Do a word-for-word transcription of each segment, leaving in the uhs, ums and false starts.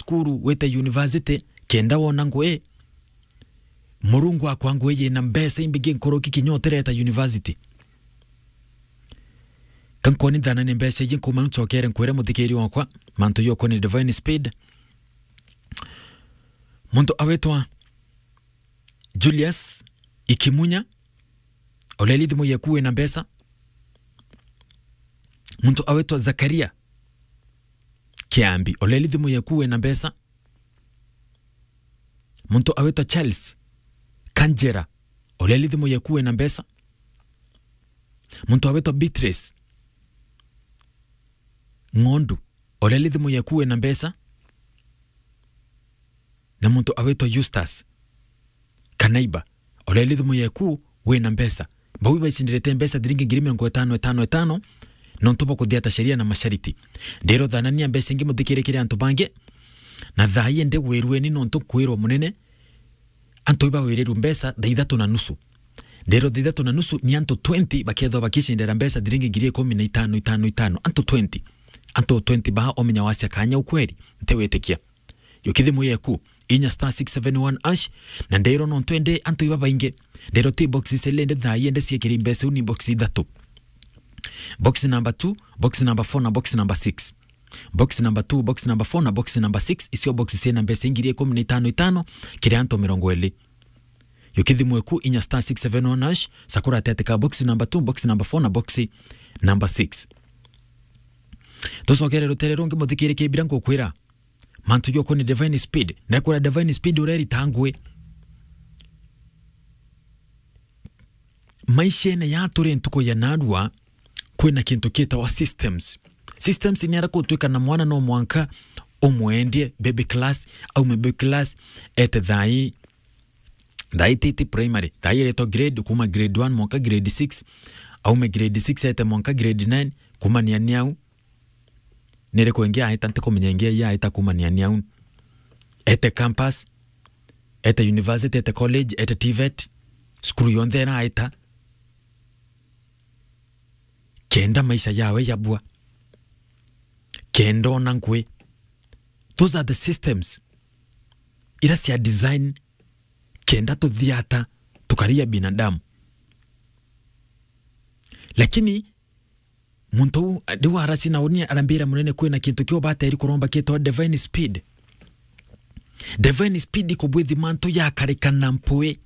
cukuru, wite university, kenda wona ngui, Murungu akwa ngui yina mbeca imbingi nkuruki kinya utireta university. Ka nkwoni thana ni mbeca iji nkuma ncokere nkwire muthikiri wakwa, mantu jokwa ni Divine Speed. Muntu awitwa Julius Ikimunya, oleli thimu yeku wina mbeca. Muntu awitwa Zakaria Kiambi, oleli thimu yeku wina mbeca. Muntu awitwa Charles Kanjera, oleli thimu yeku wina mbeca. Muntu awitwa Beatrice Ng'ondu, oleli thimu yeku wina mbeca. Na muntu awitwa Justus Kanaiba, oleli thimu yeku wina mbeca. Bau baicindiritie mbeca thiringi ngiri mirongo itano, itano, itano, nontu bwa kuthiata sheria na mashariti. Ndiro thanania mbeca ingi muthikirikire antu bangi, na thaa ii ndi wirueni nontu nkwirwa munene, antu ibawirirwe mbeca thaa ithatu na nusu. Ndiro thaa ithatu na nusu ni antu twenty bakethwa bakicindira mbeca thiringi ngiri ikumi na itano, itano, itano. Antu twenty. Antu twenty baa omenya wacia kanya ukweri, ntiwitikia. Yuki thimu yeku, inya star six seven one hash, na ndiro nontu indi antu ibabaingi. Ndiro ti box icele indi thaa ii indi ciekiri mbeca iu ni box ithatu. Box number two, box number four na box number six. Box number two, box number four na box number six, icio box ciina mbeca ingiri ikumi na itano itano, kiri antu mirongo iri. Yuki thimu eku inya star six seven one hash, sakura atete ka box number two, box number four na box number six. Tucokere rutere rungi muthikiri kibira ngukwira. Mantu joko ni Divine Speed. Na kwira Divine Speed urerita ngui. Maishene ya turi ntuku ya narua, kwina kintu kitawa systems. Systems ni ara kutwika na mwana no mwanka umwendie baby class, aume baby class, ete thai, thai titi primary, thai eretwa grade, kuma grade one mwanka grade six, aume grade six ete mwanka grade nine, kumania ni au. Niriku ingi aita, ntikumenya ingi aita kumania ni au. Ete campus, ete university, ete college, ete TVET, cukuru yonthe ira aita. Kenda maisha yawe yabua. Kenda ona ngui. Those are the systems ira cia design kenda tuthiata tukaria binadamu. Lakini muntu uu, riu araci na uni arambira munene kwina kintu kio bateri kuromba kitwa Divine Speed. Divine Speed ikubwithi mantu yakarika na mpui.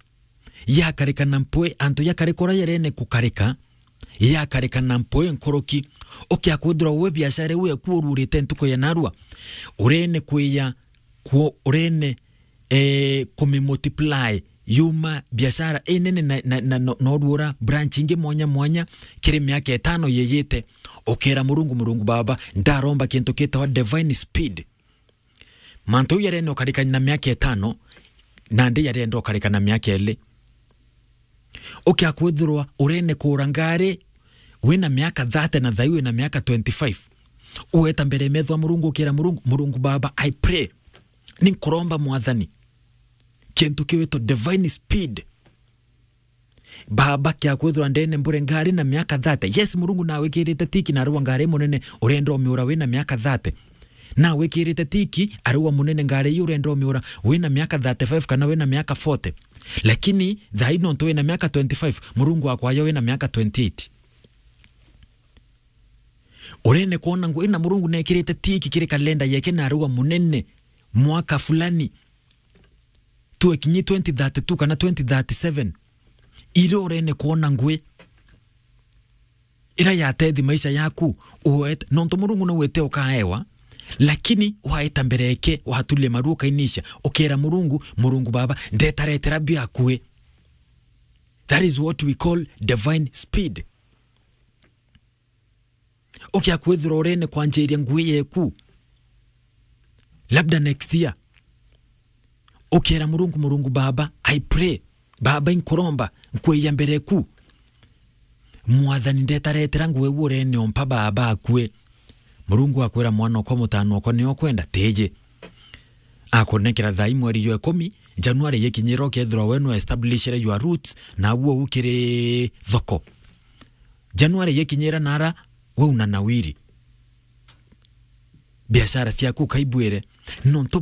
Yakarika na mpui, antu yakarika uria yarene kukarika, yakarika na mpui nkuruki. Ukia kwithirwa we biashara iu eku ururite ntuku ya narua, urene kwiya kwo, urene, eh, kumimultiply yuma biashara inene na, na, na, na, na urura branch ingi mwanya mwanya kiri miaka itano yiyite. Ukera Murungu, Murungu Baba, ndaromba kintu kitawa Divine Speed. Mantu jau yarenda ukarika na miaka itano, nandi yarenda ukarika na miaka ili. Ukia kwithirwa urene kura ngari, wina miaka thirty na thai wina miaka twenty-five. Ueta mbere ya metho ya Murungu, ukira Murungu, Murungu Baba, I pray. Ni nkuromba Mwathani. Kintu kiwitwa Divine Speed. Baba, kia kwithirwa ndene mbure ngari na miaka thirty. Yes, Murungu nawikirite tiki na arua ngari munene urenda umiura wina miaka thirty. Nawikirite tiki arua munene ngari iu urenda umiura wina miaka thirty-five kana wina miaka forty. Lakini thai nontu wina miaka twenty-five, Murungu akwayo wina miaka twenty-eight. Urene kwona ngui na Murungu nekirite tiki kiri kalenda yeke na arua munene mwaka fulani. Tuekinyi twenty thirty-two kana twenty thirty-seven. Ira urene kwona ngui ira yatethi maisha yaku, uet-, nontu Murungu no wite ukaewa, lakini waeta mbere yake, watulia maru ukainisha, ukera Murungu, Murungu Baba, ndetaretera biakui. That is what we call divine speed. Ukia kwithirwa urene kwanjiria ngui yeku, labda next year, ukera Murungu, Murungu Baba, I pray, Baba, inkuromba, nkwija mbere ku. Mwathani, ndetaretera ngui iu urene ompa Baba akue. Murungu akwira, mwana okwa, mutano okwa, nio kwenda, tiji. Akunekera thai mweri jwa ikumi, January yikinyira, ukethirwa we no establishire your roots, na uo ukiri thoko. January yikinyira nara, we una nawiri. Biashara ciaku ukaibwire, nontu